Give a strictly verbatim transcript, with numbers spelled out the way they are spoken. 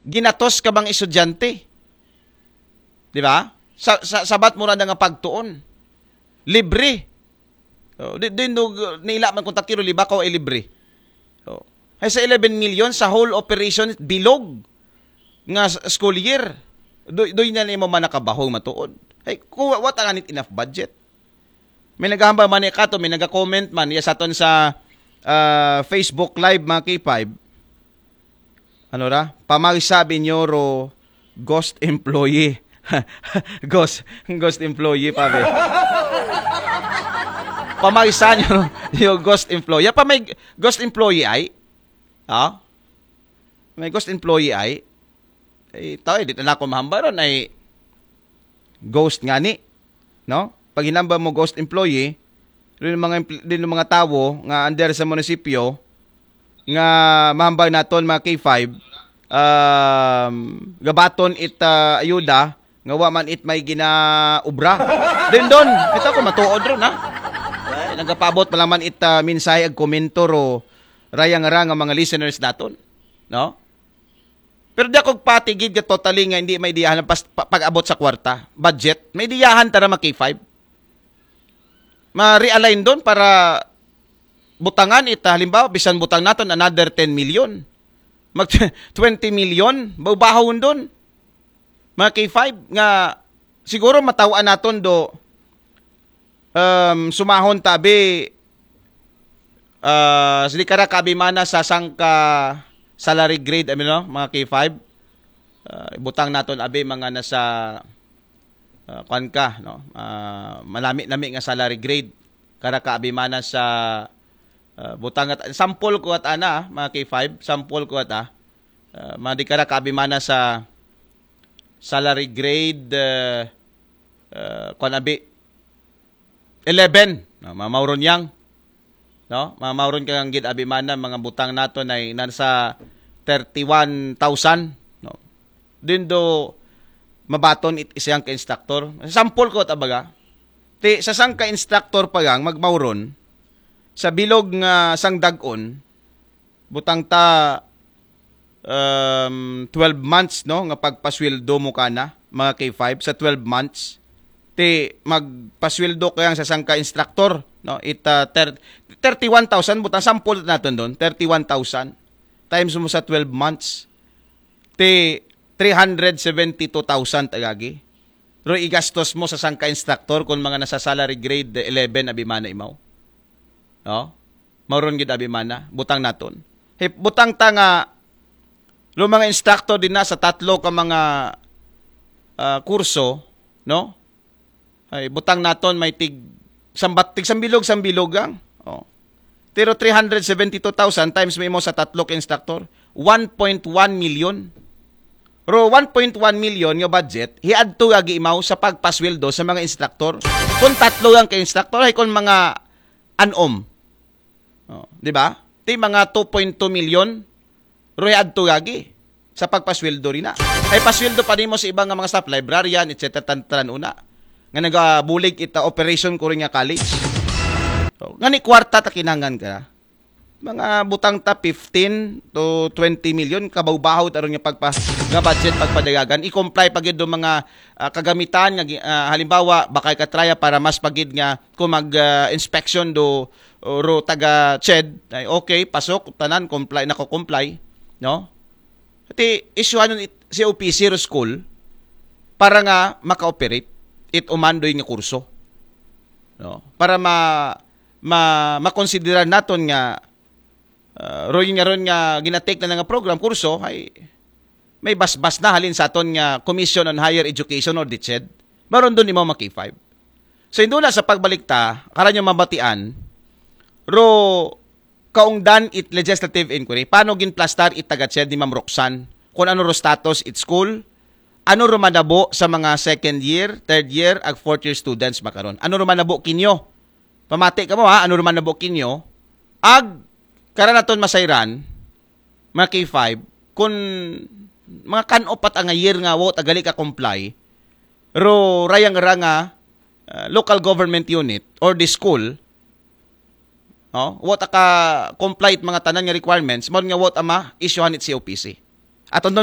Ginatos ka bang estudyante? Di ba? Sa, sa sabat mo ra nga pagtuon. Libre. Oh, di, di no, nila man kung takiro, di ba, ko ay libre. Oh. Ay sa eleven million sa whole operation bilog nga s- school year. Do, do na nimo man nakabahong matuod. Ay, kuha, what ang anit enough budget? May naghahambal man ni Kato, may nag-comment man, iya sa aton sa ah, Facebook Live, mga K five. Ano ra? Pamagsa binyo ro ghost employee. ghost, ghost employee pa be. Pamagsa nyo ro, yung ghost employee. Pa may ghost employee ay? Ha? May ghost employee ay? Ay, tao, eh, di na ako mahamba ron ay ghost nga ni. No? Pag hinamba mo ghost employee, rin mga empl- din mga tawo nga under sa munisipyo nga mahambal naton mga K five, um, gabaton it ah, ayuda nga wa man it may ginaubra. Din don, ito ko matuod ron ha. Nagapabot pa lang man it ah, mensahe ag komento ro rayang ra nga mga listeners naton, no? Pero di ako patigid nga totally nga hindi may diyahan pas, pa- pag-abot sa kwarta, budget. May diyahan tara mga K five. Ma-realign don para butangan ita, halimbawa bisan butang naton another ten million, mag twenty million, baubahon don, mga K five, nga siguro matawaan naton do, um, sumahon tabi, uh, sili kara kaabimana sa sangka salary grade, I mean, no, mga K five. Uh, ibutang naton abi mga nasa uh, kwan ka, no? Uh, malami-lami nga salary grade. Kara ka abimana sa uh, butang at sample ko at ana, ah, mga K five, sample ko at ah, uh, mga di kara ka abimana sa salary grade uh, uh, kwan abi eleven, no? Mga mauron yang, no? Mga mauron kang gid abimana, mga butang naton ay nasa thirty-one thousand, no? Din do mabaton it isang ka instructor. Sample ko tabaga. Ti sa sang ka instructor pa gang magmauron sa bilog nga sang dagon, butang ta um, twelve months, no, nga pagpasweldo mo kana, mga K five, sa twelve months. Ti magpasweldo kayang sa sang ka instructor, no? It uh, ter- thirty-one thousand, butang sample naton don, thirty-one thousand times mo sa twelve months. Ti three hundred seventy-two thousand agagi. Ro igastos mo sa sang ka instructor kung mga nasa salary grade eleven abimana imaw. No? Mauron gid abimana, butang naton. Hey, butang ta nga lo mga instructor din na sa tatlo ka mga ah, kurso, no? Ay butang naton may tig sambat tig sambilog sambilog ang. Oh. Pero three hundred seventy-two thousand times mo imo sa tatlo ka instructor, one point one million. Ro one point one million nga budget, hiadto agi imaw sa pagpasweldo sa mga instructor. Kung tatlo lang ka instructor, ay kung mga anom. Oh, di ba? Ti mga two point two million, ro hiadto agi sa pagpasweldo rin na. Ay pasweldo pa nimo sa iba nga mga staff, librarian, et cetera. Tan-, tanan una. Nga nagabulig ita operation ko rin nga college. So, nga ni kwarta ta kinangan ka. Mga butang ta fifteen to twenty million kabaw-bahaw taron nga pagpa nga budget pagpadagagan, i-comply pa gid do mga ah, kagamitan nga gi- ah, halimbawa bakay ka traya para mas pagid nga kung mag ah, inspection do o ro taga ched ay okay, pasok tanan, comply, nako-comply, no? Ti isyuhanon it- si O P C ro school para nga maka-operate it umandoy nga kurso, no? Para ma ma makonsiderar naton nga ah, ro nga ron nga ginatake na nga program, kurso ay may basbas na halin sa aton nga Commission on Higher Education or DCHED. Maron dun imo mga K five. So indo na sa pagbalik ta, karan yung mabatian, ro kaungdan it legislative inquiry, paano ginplastar it taga CHED ni Ma'am Roxanne? Kung ano ro status it school, ano ro manabo sa mga second year, third year, ag fourth year students makaron? Ano ro manabo kinyo? Pamati ka mo ha, ano ro manabo kinyo? Ag karanaton masayran, mga K five, kung mga kan-op at ang year nga wo tagali ka comply, ro rayang ra nga ah, local government unit or the school, no? What aka comply it mga tanan nga requirements, mao nga what ama issuehan it C O P C. Aton don